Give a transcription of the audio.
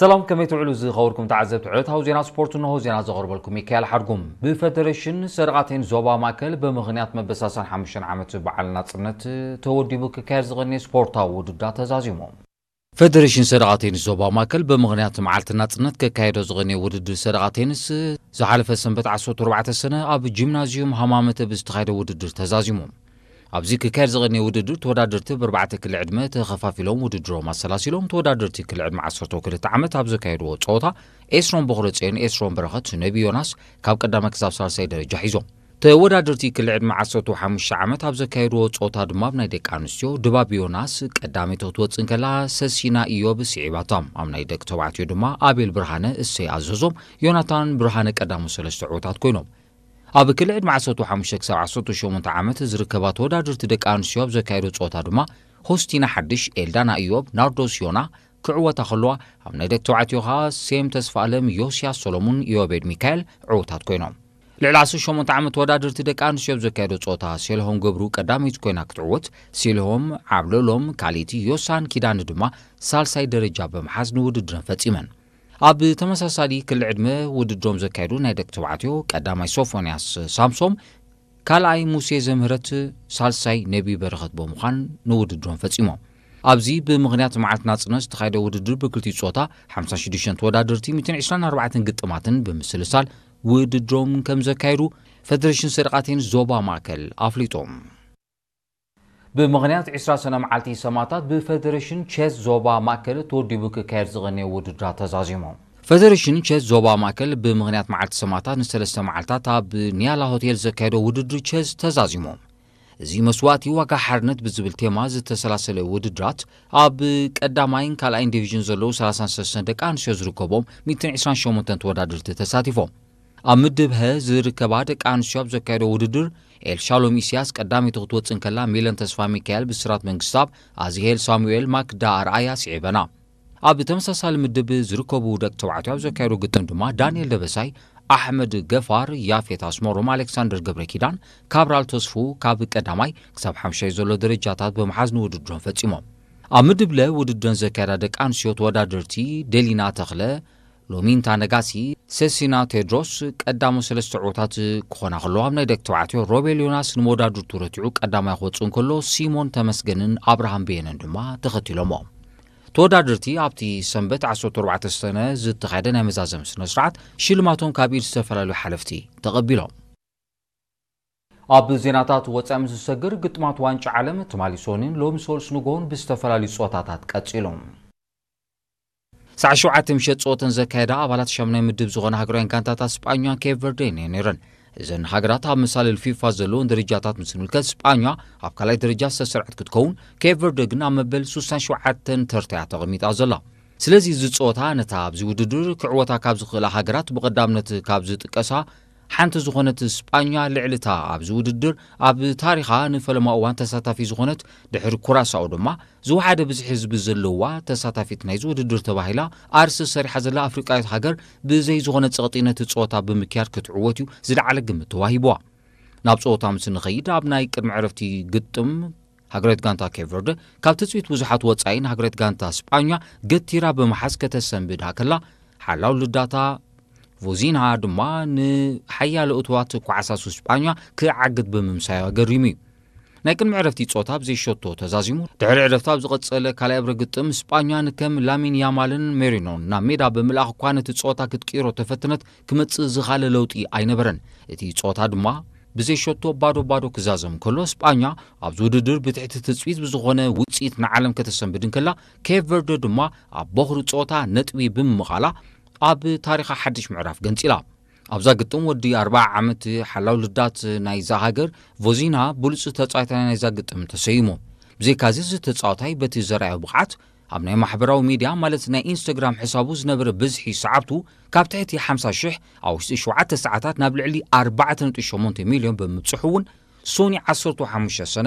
ሰላም፣ ከመይ ትውዕሉ ዝኸበርኩም ተዓዘብቲ ዕለታዊ ዜና ስፖርት? እንሆ ዜና ዘቕርበልኩም ሚካኤል ሓድጉም። ብፈደሬሽን ሰደቓ ቴኒስ ዞባ ማእከል ብምኽንያት መበሳሰን ሓሙሽተ ዓመት በዓል ናጽነት ተወዲቡ ክካየድ ዝቐነየ ስፖርታዊ ውድድር ተዛዚሙ። ፈደሬሽን ሰደቓ ቴኒስ ዞባ ማእከል ብምኽንያት መዓልቲ ናጽነት ከካየዶ ዝቐነየ ውድድር ሰደቓ ቴኒስ ዝሓለፈ ሰንበት ዓሰርተ ኣርባዕተ ሰነ ኣብ ጂምናዝዩም ሃማመተ ብዝተኻየደ ውድድር ተዛዚሙ። ኣብዚ ክካየድ ዝቐነየ ውድድር ተወዳደርቲ ብኣርባዕተ ክሊ ዕድመ ተኸፋፊሎም ውድድሮም ኣሰላሲሎም። ተወዳደርቲ ክሊ ዕድመ ዓሰርተ ክልተ ዓመት ኣብ ዘካየድዎ ጸወታ ኤስሮም በኽረጽዮን ኤስሮም በረኸት ነቢ ዮናስ ካብ ቀዳማይ ክሳብ ሳልሳይ ደረጃ ሒዞም። ተወዳደርቲ ክሊ ዕድመ ዓሰርተ ሓሙሽተ ዓመት ኣብ ዘካየድዎ ጸወታ ድማ ኣብ ናይ ደቂ ኣንስትዮ ድባብ ዮናስ ቀዳመይቲ ክትወጽእ እንከላ ሰሲና ኢዮብ ስዒባታ። ኣብ ናይ ደቂ ተባዕትዮ ድማ ኣቤል ብርሃነ እሰይ ኣዘዞም ዮናታን ብርሃነ ቀዳሞት ሰለስተ ዕዉታት ኮይኖም። ኣብ ክሊ ዕድመ ዓሰርተ ሓሙሽተ ክሳብ ዓሰርተ ሸሞንተ ዓመት ዝርከባ ተወዳደርቲ ደቂ ኣንስትዮ ኣብ ዘካየዶ ጸወታ ድማ ሆስቲና ሓድሽ፣ ኤልዳና ኢዮብ፣ ናርዶስ ዮና ክዕወታ ከለዋ፣ ኣብ ናይ ደቂ ተባዕትዮ ከኣ ሴም ተስፋኣለም፣ ዮስያስ ሰሎሙን፣ ኢዮቤድ ሚካኤል ዕዉታት ኮይኖም። ልዕሊ ዓሰርተ ሸሞንተ ዓመት ተወዳደርቲ ደቂ ኣንስትዮ ኣብ ዘካየዶ ጸወታ ሴልሆም ገብሩ ቀዳመይቲ ኮይና ክትዕወት፣ ሴልሆም ዓብለሎም ካልኣይቲ፣ ዮሳን ኪዳነ ድማ ሳልሳይ ደረጃ ብምሓዝ ንውድድረን ፈጺመን። ኣብ ተመሳሳሊ ክሊ ዕድመ ውድድሮም ዘካየዱ ናይ ደቂ ተባዕትዮ ቀዳማይ ሶፎንያስ ሳምሶም፣ ካልኣይ ሙሴ ዘምህረት፣ ሳልሳይ ነቢ በረኸት ብምዃን ንውድድሮም ፈጺሞም። ኣብዚ ብምኽንያት መዓልቲ ናጽነት ዝተኻየደ ውድድር ብክልቲኡ ጾታ ሓምሳ ሽዱሽተ ተወዳደርቲ ሚእትን ዕስራን ኣርባዕተን ግጥማትን ብምስልሳል ውድድሮም ከም ዘካየዱ ፈደሬሽን ሰደቓ ቴኒስ ዞባ ማእከል ኣፍሊጡ። ብምኽንያት ዕስራ ሰነ መዓልቲ ሰማእታት ብፈደሬሽን ቸስ ዞባ ማእከል ተወዲቡ ክካየድ ዝቐነየ ውድድራት ተዛዚሙ። ፈደሬሽን ቸስ ዞባ ማእከል ብምኽንያት መዓልቲ ሰማእታት ንሰለስተ መዓልታት ኣብ ኒያላ ሆቴል ዘካየዶ ውድድር ቸስ ተዛዚሙ። እዚ መስዋእቲ ዋጋ ሓርነት ብዝብል ቴማ ዝተሰላሰለ ውድድራት ኣብ ቀዳማይን ካልኣይን ዲቪዥን ዘለዉ ሰላሳን ሰለስተን ደቂ ኣንስትዮ ዝርከቦም ሚእትን ዕስራን ሸሞንተን ተወዳደርቲ ተሳቲፎም። ኣብ ምድብ ሀ ዝርከባ ደቂ ኣንስትዮ ኣብ ዘካየዶ ውድድር ኤልሻሎም ኢስያስ ቀዳመይቲ ክትወጽእ እንከላ፣ ሚለን ተስፋ ሚካኤል፣ ብስራት መንግስታብ፣ ኣዝሄል ሳሙኤል፣ ማክዳ ኣርኣያ ስዒበና። ኣብ ተመሳሳሊ ምድብ ዝርከቡ ደቂ ተባዕትዮ ኣብ ዘካየዶ ግጥም ድማ ዳንኤል ደበሳይ፣ ኣሕመድ ገፋር፣ ያፌት ኣስመሮም፣ ኣሌክሳንደር ገብረ ኪዳን፣ ካብራል ተስፉ ካብ ቀዳማይ ክሳብ ሓምሻይ ዘሎ ደረጃታት ብምሓዝ ንውድድሮም ፈጺሞም። ኣብ ምድብ ለ ውድድረን ዘካየዳ ደቂ ኣንስትዮ ተወዳደርቲ ደሊና ተኽለ፣ ሎሚንታ ነጋሲ፣ ሰሲና ቴድሮስ ቀዳሞ ሰለስተ ዕዉታት ክኾና ከለዋ፣ ኣብ ናይ ደቂ ተባዕትዮ ሮቤል ዮናስ ንመወዳድርቱ ረቲዑ ቀዳማይ ክወጽእ እንከሎ፣ ሲሞን ተመስገንን ኣብርሃም በየነን ድማ ተኸቲሎሞ። ተወዳደርቲ ኣብቲ ሰንበት ዓሰርተ ኣርባዕተ ሰነ ዝተኻየደ ናይ መዛዘሚ ስነ ስርዓት ሽልማቶም ካብ ኢድ ዝተፈላለዩ ሓለፍቲ ተቐቢሎም። ኣብ ዜናታት ወጻኢ ምስ ዝሰግር፣ ግጥማት ዋንጫ ዓለም ትማሊ ሰኑይን ሎሚ ሰሉስ ንግሆን ብዝተፈላለዩ ጸወታታት ቀጺሎም። ሰዓት ሸውዓተ ምሸት ጸወተን ዘካየዳ ኣባላት ሻምናይ ምድብ ዝኾና ሃገራውያን ጋንታታት ስጳኛን ኬፕ ቨርዴን እየን ነይረን። እዘን ሃገራት ኣብ መሳልል ፊፋ ዘለውን ደረጃታት ምስ ንምልከት፣ ስጳኛ ኣብ ካልኣይ ደረጃ ዝተሰርዐት ክትከውን፣ ኬፕ ቨርደ ግን ኣብ መበል ሱሳን ሸውዓተን ተርታ እያ ተቐሚጣ ዘላ። ስለዚ እዚ ጸወታ ነታ ኣብዚ ውድድር ክዕወታ ካብ ዝኽእላ ሃገራት ብቐዳምነት ካብ ዝጥቀሳ ሓንቲ ዝኾነት ስጳኛ፣ ልዕሊ እታ ኣብዚ ውድድር ኣብ ታሪኻ ንፈለማ እዋን ተሳታፊ ዝኾነት፣ ድሕሪ ኩራሳኦ ድማ ዝወሓደ ብዝሒ ህዝቢ ዘለዋ ተሳታፊት ናይዚ ውድድር ተባሂላ ኣርስ ዝሰሪሓ ዘላ ኣፍሪቃዊት ሃገር ብዘይ ዝኾነ ጸቕጢ ነቲ ጸወታ ብምክያድ ክትዕወት እዩ ዝለዓለ ግምት ተዋሂብዋ። ናብ ጸወታ ምስ ንኸይድ፣ ኣብ ናይ ቅድሚ ዕረፍቲ ግጥም ሃገራዊት ጋንታ ኬፕ ቨርደ ካብ ትጽቢት ብዙሓት ወጻኢ ንሃገራዊት ጋንታ ስጳኛ ገቲራ ብምሓዝ ከተሰንብዳ ከላ፣ ሓላው ልዳታ ቮዚንሃ ድማ ንሓያሎ እትዋት ኳዕሳሱ ስጳኛ ክዓግት ብምምሳዩ ኣገሪሙ እዩ። ናይ ቅድሚ ዕረፍቲ ጸወታ ብዘይ ሸቶ ተዛዚሙ። ድሕሪ ዕረፍቲ ኣብ ዝቐጸለ ካልኣይ እብረ ግጥም፣ ስጳኛ ንከም ላሚን ያማልን ሜሪኖን ናብ ሜዳ ብምልኣኽ እኳ ነቲ ጸወታ ክትቅይሮ ተፈተነት፣ ክመጽእ ዝኻለ ለውጢ ኣይነበረን። እቲ ጸወታ ድማ ብዘይ ሸቶ ባዶ ባዶ ክዛዘም ከሎ፣ ስጳኛ ኣብዚ ውድድር ብትሕቲ ትጽቢት ብዝኾነ ውጽኢት ንዓለም ከተሰንብድ እንከላ፣ ኬፕ ቨርደ ድማ ኣብ ቦኽሪ ጸወታ ነጥቢ ብምምቓላ ኣብ ታሪኻ ሓድሽ ምዕራፍ ገንጺላ። ኣብዛ ግጥም ወዲ ኣርብዓ ዓመት ሓላው ልዳት ናይዛ ሃገር ቮዚና ብሉጽ ተጻዋታይ ናይዛ ግጥም ተሰይሙ። ብዘይካዚ እዚ ተጻዋታይ በቲ ዘርኣዮ ብቕዓት ኣብ ናይ ማሕበራዊ ሚድያ ማለት ናይ ኢንስታግራም ሕሳቡ ዝነበረ ብዝሒ ሰዓብቱ ካብ ትሕቲ ሓምሳ ሽሕ ኣብ ውሽጢ ሸውዓተ ሰዓታት ናብ ልዕሊ ኣርባዕተ ነጥቢ ሸሞንተ ሚልዮን ብምብጽሑ እውን ሶኒ ዓሰርተ ሓሙሽተ ሰነ